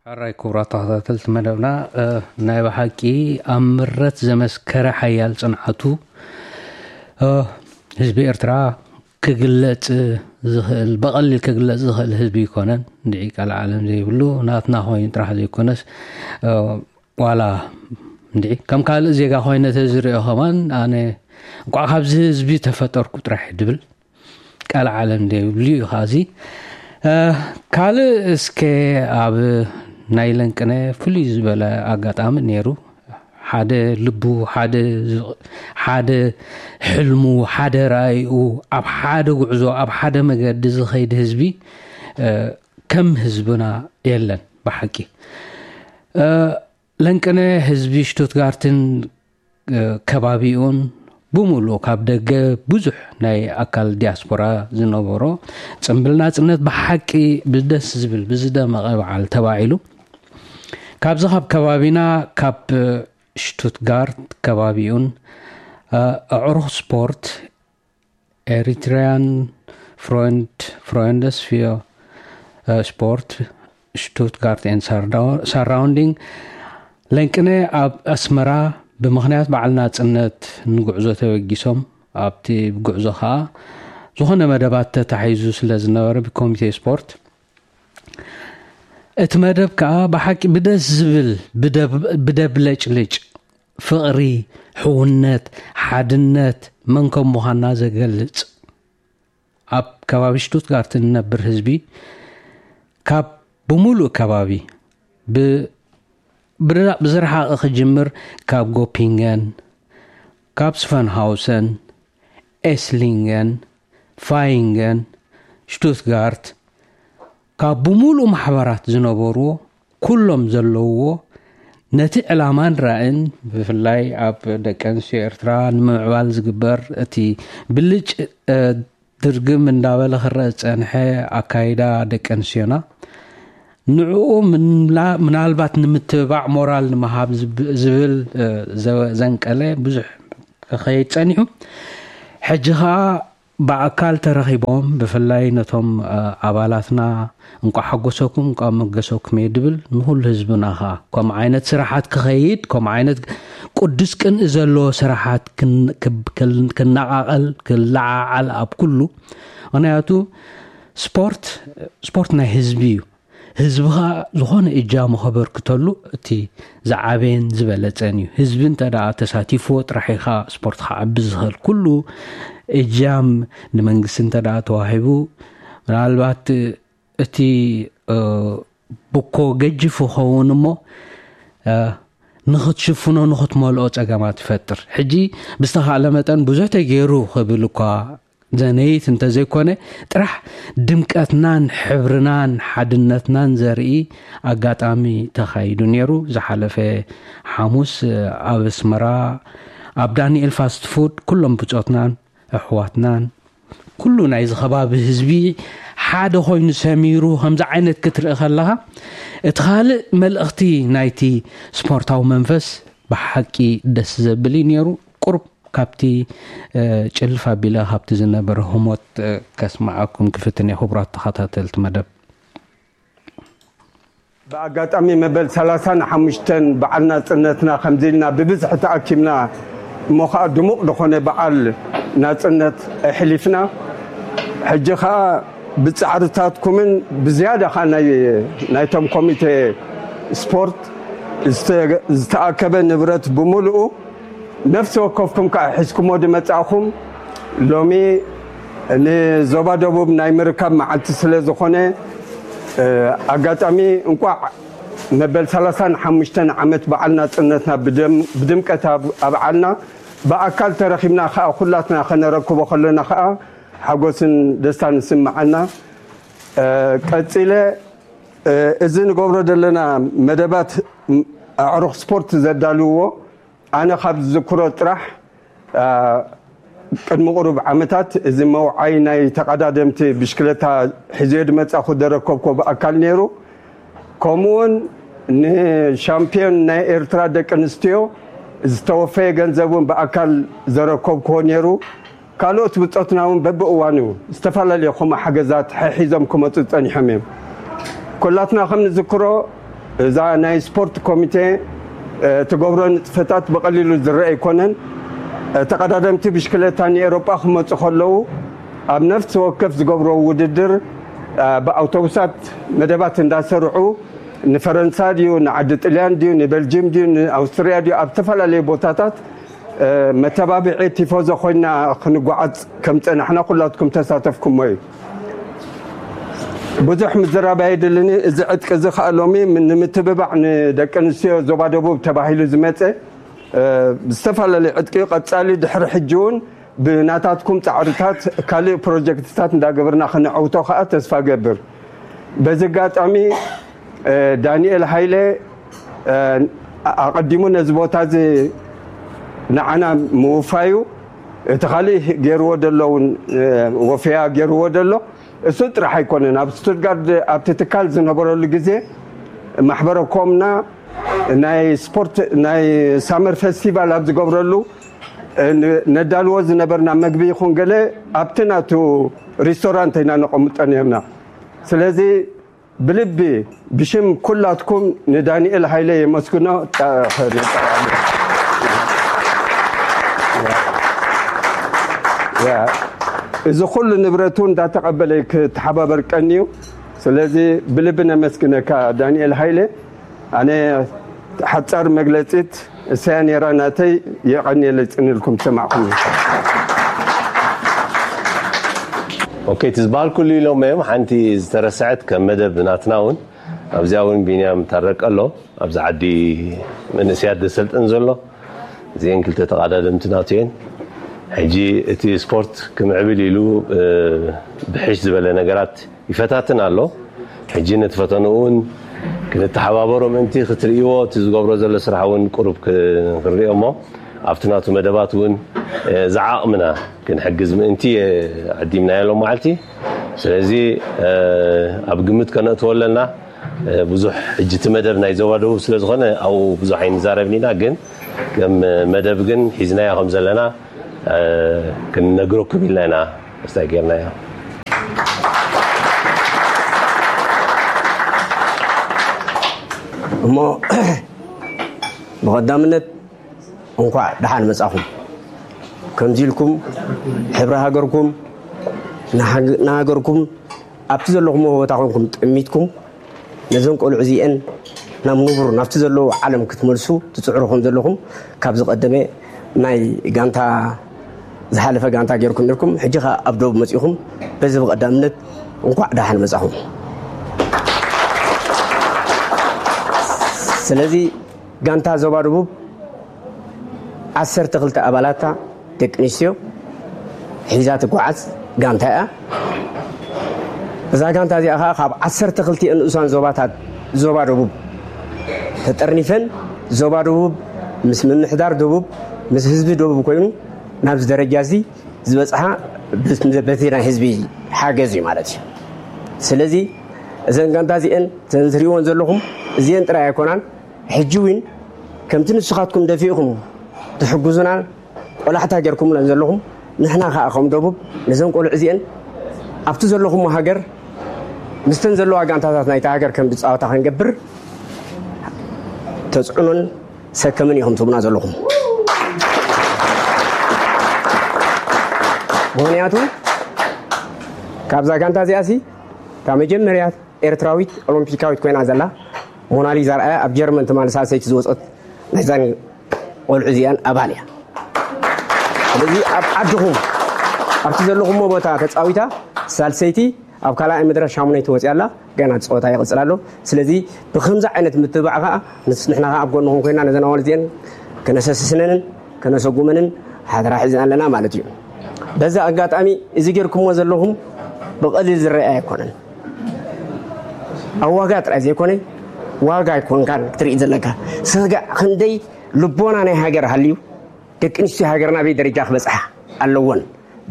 ኣራይ ክቡራት ተኸታተልቲ መደብና፣ እ፣ ናይ ብሓቂ ኣብ ምረት ዘመስከረ ሓያል ጽንዓቱ፣ እ፣ ህዝቢ ኤርትራ ክግለጽ ዝኽእል፣ ብቐሊል ክግለጽ ዝኽእል ህዝቢ ኣይኮነን። እንድዒ ቃል ዓለም ዘይብሉ ናትና ኮይኑ ጥራሕ ዘይኮነስ፣ እ፣ ዋላ እንድዒ ከም ካልእ ዜጋ ኮይነ ተዝሪኦ ከማን ኣነ እንቋዕ ካብዚ ህዝቢ ተፈጠርኩ ጥራሕ ድብል ቃል ዓለም ዘይብሉ እዩ። ኻዚ፣ እ፣ ካልእ እስከ ኣብ ናይ ለንቅነ ፍሉይ ዝበለ ኣጋጣሚ ነይሩ። ሓደ ልቡ፣ ሓደ ዝ-፣ ሓደ ሕልሙ፣ ሓደ ራእይኡ፣ ኣብ ሓደ ጉዕዞ፣ ኣብ ሓደ መገዲ ዝኸይድ ህዝቢ፣ እ፣ ከም ህዝብና የለን ብሓቂ። እ፣ ለንቅነ ህዝቢ ሽቱትጋርትን፣ እ፣ ከባቢኡን ብምሉኡ ካብ ደገ ብዙሕ ናይ ኣካል ዲያስፖራ ዝነበሮ ጽምብል ናጽነት ብሓቂ ብደስ ዝብል ብዝደመቐ በዓል ተባዒሉ። ካብዚ ካብ ከባቢና ካብ ሽቱትጋርት ከባቢኡን፣ እ፣ ኣዕሩኽ ስፖርት ኤሪትሪያን ፍሮንድ ፍሮንደስ ፊዮ፣ እ፣ ስፖርት ሽቱትጋርት ኤን ሳራውንዲንግ ለንቅነ ኣብ ኣስመራ ብምኽንያት በዓል ናጽነት ንጉዕዞ ተበጊሶም ኣብቲ ጉዕዞ ኸኣ ዝኾነ መደባት ተታሒዙ ስለ ዝነበረ ብኮሚቴ ስፖርት እቲ መደብ ከኣ ብሓቂ ብደስ ዝብል ብደብ-፣ ብደብለጭልጭ ፍቕሪ፣ ሕውነት፣ ሓድነት መን ከም ምዃንና ዘገልጽ ኣብ ከባቢ ሽቱትጋርት እንነብር ህዝቢ ካብ ብምሉእ ከባቢ ብ-፣ ብራ-፣ ብዝረሓቐ ክጅምር ካብ ጎፒንገን፣ ካብ ስፈንሃውሰን፣ ኤስሊንገን፣ ፋይንገን፣ ሽቱትጋርት ካብ ብምሉእ ማሕበራት ዝነበርዎ ኩሎም ዘለውዎ ነቲ ዕላማን ራእን ብፍላይ ኣብ ደቂ ኣንስትዮ ኤርትራ ንምምዕባል ዝግበር እቲ ብልጭ፣ እ፣ ድርግም እንዳበለ ክረአ ዝጸንሐ ኣካይዳ ደቂ ኣንስትዮና ንዕኡ ምንላ-፣ ምናልባት ንምትብባዕ ሞራል ንምሃብ ዝብ-፣ ዝብል፣ እ፣ ዘ-፣ ዘንቀለ ብዙሕ ክኸይድ ጸኒሑ። ሕጂ ኸኣ ብኣካል ተረኺቦም ብፍላይ ነቶም፣ እ፣ ኣባላትና እንቋዕ ሓጎሰኩም እንቋዕ መገሰኩም እየ ድብል ንኹሉ ህዝብና ኸኣ ከምኡ ዓይነት ስራሓት ክኸይድ ከምኡ ዓይነት ቅዱስ ቅንኢ ዘለዎ ስራሓት ክን-፣ ክብ-፣ ክል-፣ ክነቓቐል ክለዓዓል ኣብ ኩሉ። ምኽንያቱ ስፖርት፣ ስፖርት ናይ ህዝቢ እዩ። ህዝቢ ኸኣ ዝኾነ እጃሙ ከበርክተሉ እቲ ዝዓበየን ዝበለጸን እዩ። ህዝቢ እንተ ደኣ ተሳቲፍዎ ጥራሕ እዩ ኸኣ ስፖርት ክዓቢ ዝኽእል። ኩሉ እጃም ንመንግስቲ እንተ ደኣ ተዋሂቡ ምናልባት እቲ፣ እ፣ ብኮ ገጅፍ ይኸውን እሞ፣ እ፣ ንኽትሽፍኖ ንኽትመልኦ ጸገማት ይፈጥር። ሕጂ ብዝተኻእለ መጠን ብዙሕ ተገይሩ ክብል እኳ ዘነይት እንተዘይኮነ ጥራሕ ድምቀትናን ሕብርናን ሓድነትናን ዘርኢ ኣጋጣሚ ተኻይዱ ነይሩ። ዝሓለፈ ሓሙስ ኣብ ኣስመራ ኣብ ዳንኤል ፋስት ፉድ ኩሎም ብጾትናን ኣሕዋትናን ኩሉ ናይዚ ከባቢ ህዝቢ ሓደ ኮይኑ ሰሚሩ ከምዚ ዓይነት ክትርኢ ከለኻ እቲ ካልእ መልእኽቲ ናይቲ ስፖርታዊ መንፈስ ብሓቂ ደስ ዘብል እዩ ነይሩ። ቁሩብ ካብቲ፣ እ፣ ጭልፍ ኣቢለ ካብቲ ዝነበረ ህሞት፣ እ፣ ከስምዓኩም ክፍትን እየ፣ ክቡራት ተኸታተልቲ መደብ። ብኣጋጣሚ መበል ሰላሳን ሓሙሽተን በዓል ናጽነትና ከምዚ ኢልና ብብዝሒ ተኣኪብና እሞ ኸኣ ድሙቕ ዝኾነ በዓል ናጽነት ኣሕሊፍና። ሕጂ ኸኣ ብጻዕርታትኩምን ብዝያዳ ኸኣ ናይ፣ ናይቶም ኮሚቴ ስፖርት ዝተ-፣ ዝተኣከበ ንብረት ብምሉኡ ነፍሲ ወከፍኩም ከኣ ሒዝኩሞ ዝመጻእኹም ሎሚ ንዞባ ደቡብ ናይ ምርካብ መዓልቲ ስለ ዝኾነ፣ እ፣ ኣጋጣሚ እንቋዕ መበል ሰላሳን ሓሙሽተን ዓመት በዓል ናጽነትና ብደም-፣ ብድምቀት ኣብ-፣ ኣብዓልና ብኣካል ተረኺብና ከኣ ኩላትና ከነረክቦ ከለና ከኣ ሓጎስን ደስታን ይስምዓና። እ፣ ቀጺለ፣ እ፣ እዚ ንገብሮ ዘለና መደባት፣ ም-፣ ኣዕሩኽ ስፖርት ዘዳልውዎ ኣነ ካብ ዝዝክሮ ጥራሕ፣ እ፣ ቅድሚ ቁሩብ ዓመታት እዚ መውዓይ ናይ ተቐዳደምቲ ብሽክለታ ሒዘዮ ዝመጻኹ ዘረከብኩዎ ብኣካል ነይሩ። ከምኡውን ንሻምፒዮን ናይ ኤርትራ ደቂ ኣንስትዮ ዝተወፈየ ገንዘብ እውን ብኣካል ዘረከብኩዎ ነይሩ። ካልኦት ብጾትና እውን በብእዋኑ ዝተፈላለዩ ከምኡ ሓገዛት ሓሒዞም ክመጹ ጸኒሖም እዮም። ኩላትና ከም ንዝክሮ እዛ ናይ ስፖርት ኮሚቴ ትገብሮ ንጥፈታት ብቐሊሉ ዝረአ ኣይኮነን። ተቐዳደምቲ ብሽክለታ ንኤውሮጳ ክመፁ ከለዉ ኣብ ነፍሲ ወከፍ ዝገብሮ ውድድር ብኣውቶቡሳት መደባት እንዳሰርዑ ንፈረንሳ ድዩ ንዓዲ ጥልያን ድዩ ንበልጅም ድዩ ንኣውስትርያ ድዩ ኣብ ዝተፈላለዩ ቦታታት መተባብዒ ቲፎዞ ኮይና ክንጓዓዝ ከም ፀናሕና ኩላትኩም ተሳተፍኩሞ እዩ። ብዙሕ ምዝራብ ኣይድልን። እዚ ዕጥቂ እዚ ከዓ ሎሚ ንምትብባዕ ንደቂ ኣንስትዮ ዞባ ደቡብ ተባሂሉ ዝመፀ ብዝተፈላለዩ ዕጥቂ እዩ። ቀፃሊ ድሕሪ ሕጂ እውን ብናታትኩም ፃዕርታት ካልእ ፕሮጀክትታት እንዳገበርና ክነዐውቶ ከዓ ተስፋ ገብር። በዚ ኣጋጣሚ ዳንኤል ሃይለ ኣቐዲሙ ነዚ ቦታ እዚ ንዓና ምውፋዩ እቲ ካልእ ገይርዎ ዘሎ እውን ወፈያ ገይርዎ ዘሎ እሱ ጥራሕ ኣይኮነን። ኣብ ስቱትጋርድ ኣብቲ ትካል ዝነበረሉ ግዜ ማሕበረ ኮምና ናይ ስፖርት ናይ ሳመር ፌስቲቫል ኣብ ዝገብረሉ ነዳልዎ ዝነበርና መግቢ ይኹን ገለ ኣብቲ ናቱ ሪስቶራንት ኢና ነቐምጦ ነርና። ስለዚ ብልቢ ብሽም ኩላትኩም ንዳንኤል ሃይለ የመስግኖ። እዚ ኩሉ ንብረቱ እንዳተቐበለ ክተሓባበር ቀንዩ። ስለዚ ብልቢ ነመስግነካ ዳንኤል ሃይለ። ኣነ ሓጻር መግለጺት እሰያ ነይራ ናተይ። የቐንየለይ ጽንልኩም ሰማዕኩም። ኦኬ፣ እቲ ዝበሃል ኩሉ ኢሎም እዮም። ሓንቲ ዝተረስዐት ከም መደብ ናትና እውን ኣብዚኣ እውን ቢንያም ታረቀ ኣሎ፣ ኣብዚ ዓዲ መንእሰያት ዘሰልጥን ዘሎ። እዚአን ክልተ ተቐዳደምቲ ናቱ እየን። ሕጂ እቲ ስፖርት ክምዕብል ኢሉ ብሕሽ ዝበለ ነገራት ይፈታትን ኣሎ። ሕጂ ነቲ ፈተንኡ እውን ክንተሓባበሮ ምእንቲ ክትርእይዎ እቲ ዝገብሮ ዘሎ ስራሕ እውን ቁሩብ ክንሪኦ እሞ ኣብቲ ናቱ መደባት እውን ዝዓቕምና ክንሕግዝ ምእንቲ ዓዲምናዮ ሎም መዓልቲ። ስለዚ ኣብ ግምት ከነእትዎ ኣለና። ብዙሕ ሕጂ እቲ መደብ ናይ ዞባ ደቡብ ስለ ዝኾነ ኣብኡ ብዙሕ ኣይንዛረብን ኢና፣ ግን ከም መደብ ግን ሒዝናዮ ከም ዘለና ክንነግረኩም ኢልና ኢና። እስታይ ጌርናዮ። እሞ ብቐዳምነት እንኳዕ ደሓን መጻኹም። ከምዚ ኢልኩም ሕብሪ ሃገርኩም ንሃገርኩም ኣብቲ ዘለኹምዎ ቦታ ኮንኩም ጠሚትኩም ነዘን ቆልዑ እዚአን ናብ ንቡር ናብቲ ዘለዎ ዓለም ክትመልሱ ትፅዕሩ ከም ዘለኹም ካብ ዝቐደመ ናይ ጋንታ ዝሓለፈ ጋንታ ገይርኩም ነርኩም። ሕጂ ኸዓ ኣብ ደቡብ መፂኹም። በዚ ብቐዳምነት እንኳዕ ደሓን መፃኹም። ስለዚ ጋንታ ዞባ ደቡብ ዓሰርተ ክልተ ኣባላታ ደቂ ኣንስትዮ ሒዛ ትጓዓዝ ጋንታ እያ። እዛ ጋንታ እዚኣ ኸዓ ካብ ዓሰርተ ክልተ ንኡሳን ዞባታት ዞባ ደቡብ ተጠርኒፈን ዞባ ደቡብ ምስ ምምሕዳር ደቡብ ምስ ህዝቢ ደቡብ ኮይኑ ናብዚ ደረጃ እዚ ዝበፅሓ በቲ ናይ ህዝቢ ሓገዝ እዩ ማለት እዩ። ስለዚ እዘን ጋንታ እዚአን እተን ትሪእወን ዘለኹም እዚአን ጥራይ ኣይኮናን። ሕጂ እውን ከምቲ ንስኻትኩም ደፊእኹም ትሕግዙና ቆላሕታ ጌርኩምለን ዘለኹም ንሕና ከዓ ከም ደቡብ ነዘን ቆልዑ እዚአን ኣብቲ ዘለኹሞ ሃገር ምስተን ዘለዋ ጋንታታት ናይታ ሃገር ከም ዝፃወታ ክንገብር ተፅዕኖን ሰከምን ኢኹም ትብና ዘለኹም። ምክንያቱ ካብዛ ጋንታ እዚኣሲ ካብ መጀመርያ ኤርትራዊት ኦሎምፒካዊት ኮይና ዘላ ሞናሊዛ ርኣያ ኣብ ጀርመን ትማሊ ሳልሰይቲ ዝወፀት ናይዛን ቆልዑ እዚኣን ኣባል እያ። ስለዚ ኣብ ዓድኹም ኣብቲ ዘለኹሞ ቦታ ተፃዊታ ሳልሰይቲ ኣብ ካልኣይ መድረክ ሻሙነይቲ ወፂኣ ኣላ። ገና እቲ ፀወታ ይቕፅል ኣሎ። ስለዚ ብከምዚ ዓይነት ምትብባዕ ከዓ ንስ ንሕና ከዓ ኣብ ጎንኹም ኮይና ነዘን ኣዋልድ እዚአን ከነሰስስነንን ከነሰጉመንን ሓደራ ሒዝና ኣለና ማለት እዩ። በዚ ኣጋጣሚ እዚ ጌርኩሞ ዘለኹም ብቐሊል ዝረአ ኣይኮነን። ኣብ ዋጋ ጥራይ ዘይኮነ ዋጋ ኣይኮንካን ክትርኢ ዘለካ። ስጋዕ ክንደይ ልቦና ናይ ሃገር ሃልዩ ደቂ ኣንስትዮ ሃገርና ኣበይ ደረጃ ክበፅሓ ኣለዎን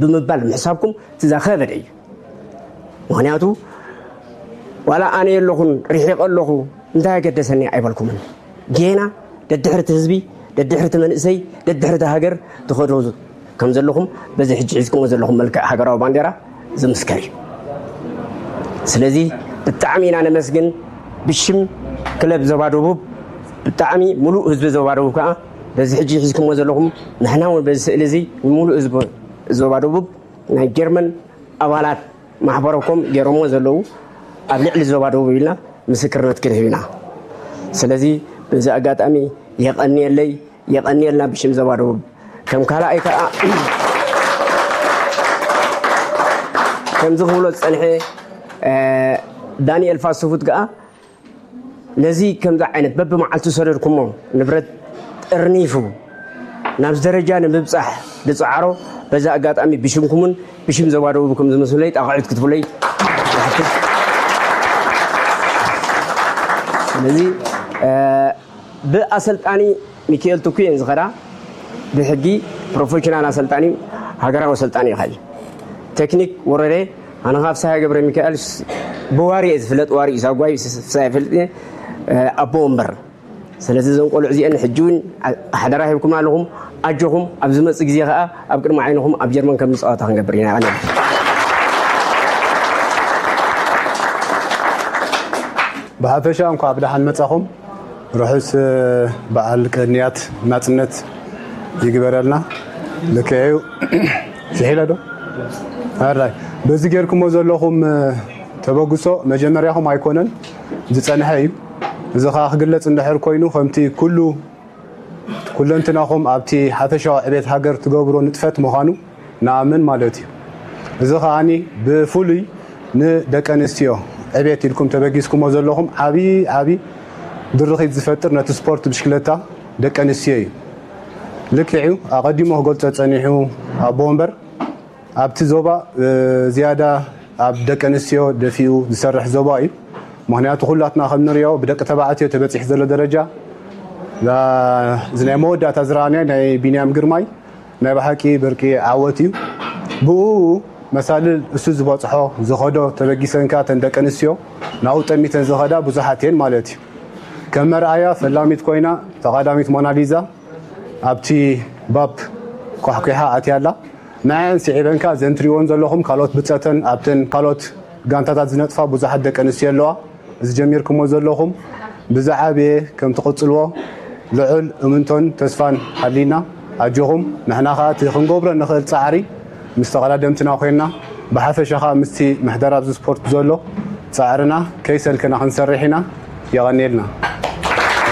ብምባል ምሕሳብኩም እቲ ዘኸበደ እዩ። ምክንያቱ ዋላ ኣነ የለኹን ርሒቐ ኣለኹ እንታይ ኣገደሰኒ ኣይበልኩምን። ጌና ደድሕርቲ ህዝቢ ደድሕርቲ መንእሰይ ደድሕርቲ ሃገር ትኸዶ ከም ዘለኹም በዚ ሕጂ ሒዝኩሞ ዘለኹም መልክዕ ሃገራዊ ባንዴራ ዝምስከር እዩ። ስለዚ ብጣዕሚ ኢና ነመስግን ብሽም ክለብ ዞባ ደቡብ ብጣዕሚ፣ ሙሉእ ህዝቢ ዞባ ደቡብ ከዓ በዚ ሕጂ ሒዝኩሞ ዘለኹም፣ ንሕና እውን በዚ ስእሊ እዚ ንሙሉእ ህዝቢ ዞባ ደቡብ ናይ ጀርመን ኣባላት ማሕበረኮም ገይሮሞ ዘለዉ ኣብ ልዕሊ ዞባ ደቡብ ኢልና ምስክርነት ክንህብ ኢና። ስለዚ በዚ ኣጋጣሚ የቐንየለይ፣ የቐንየልና ብሽም ዞባ ደቡብ። ከም ካልኣይ ከዓ ከምዚ ክብሎ ዝጸንሐ ዳንኤል ፋስፉት ከዓ ነዚ ከምዚ ዓይነት በብመዓልቱ ዝሰደድኩሞ ንብረት ጥርኒፉ ናብዚ ደረጃ ንምብጻሕ ዝጸዓሮ በዚ ኣጋጣሚ ብሽምኩምን ብሽም ዞባ ደቡብ ከም ዝመስለይ ጣቕዑት ክትብለይ ይሓትት። ስለዚ ብኣሰልጣኒ ሚካኤል ትኩ እየን ዝኸዳ። ብሕጊ ፕሮፌሽናል ኣሰልጣኒ፣ ሃገራዊ ኣሰልጣኒ ኢኻ። ቴክኒክ ወረደ፣ ኣነ ካብ ፍስሃ ገብረ ሚካኤል ብዋሪ እየ ዝፍለጥ። ዋሪ እዩ ሳጓይ ፍስሃ ይፈልጥ እየ። ኣቦ ወንበር። ስለዚ እዞም ቆልዑ እዚአን ሕጂ እውን ሓደራ ሂብኩም ኣለኹም። ኣጆኹም፣ ኣብ ዝመጽእ ግዜ ከኣ ኣብ ቅድሚ ዓይንኹም ኣብ ጀርመን ከም ንጸዋታ ክንገብር ኢና። ኣነ ብሓፈሻ እንኳዕ ብደሓን መጻኹም። ርሑስ በዓል ቅንያት ናጽነት ይግበረልና። ልክዕ እዩ። ስሒለ ዶ ኣራይ በዚ ጌርኩሞ ዘለኹም ተበግሶ መጀመርያኹም ኣይኮነን፣ ዝጸንሐ እዩ። እዚ ኸዓ ክግለጽ እንድሕር ኮይኑ ከምቲ ኩሉ ኩለንትናኹም ኣብቲ ሓፈሻዊ ዕቤት ሃገር ትገብሮ ንጥፈት ምዃኑ ንኣምን ማለት እዩ። እዚ ከኣኒ ብፍሉይ ንደቂ ኣንስትዮ ዕቤት ኢልኩም ተበጊስኩሞ ዘለኹም ዓብዪ ዓብዪ ድርኺት ዝፈጥር ነቲ ስፖርት ብሽክለታ ደቂ ኣንስትዮ እዩ። ልክዕ እዩ፣ ኣቐዲሙ ክገልጾ ጸኒሑ ኣቦ ወንበር ኣብቲ ዞባ ዝያዳ ኣብ ደቂ ኣንስትዮ ደፊኡ ዝሰርሕ ዞባ እዩ። ምኽንያቱ ኩላትና ከም ንሪኦ ብደቂ ተባዕትዮ ተበፂሑ ዘሎ ደረጃ እዚ ናይ መወዳእታ ዝረኣናዮ ናይ ቢንያም ግርማይ ናይ ብሓቂ ብርቂ ዓወት እዩ። ብኡ መሳልል እሱ ዝበፅሖ ዝኸዶ ተበጊሰንካ ተን ደቂ ኣንስትዮ ናብኡ ጠሚተን ዝኸዳ ብዙሓት እየን ማለት እዩ። ከም መርኣያ ፈላሚት ኮይና ተቓዳሚት ሞናሊዛ ኣብቲ ባብ ኳሕኲሓ ኣትያ ኣላ። ንዐን ስዒበን ከኣ ዘን ትሪእወን ዘለኹም ካልኦት ብጸተን ኣብተን ካልኦት ጋንታታት ዝነጥፋ ብዙሓት ደቂ ኣንስትዮ ኣለዋ። እዚ ጀሚርኩሞ ዘለኹም ብዝዓበየ ከም ትቕጽልዎ ልዑል እምንቶን ተስፋን ሃልይና። ኣጆኹም። ንሕና ከኣ እቲ ክንገብሮ ንኽእል ጻዕሪ ምስ ተቐዳደምትና ኮይንና ብሓፈሻ ከኣ ምስቲ ምሕደራ ኣብዚ ስፖርት ዘሎ ጻዕርና ከይሰልከና ክንሰርሕ ኢና። የቐንየልና።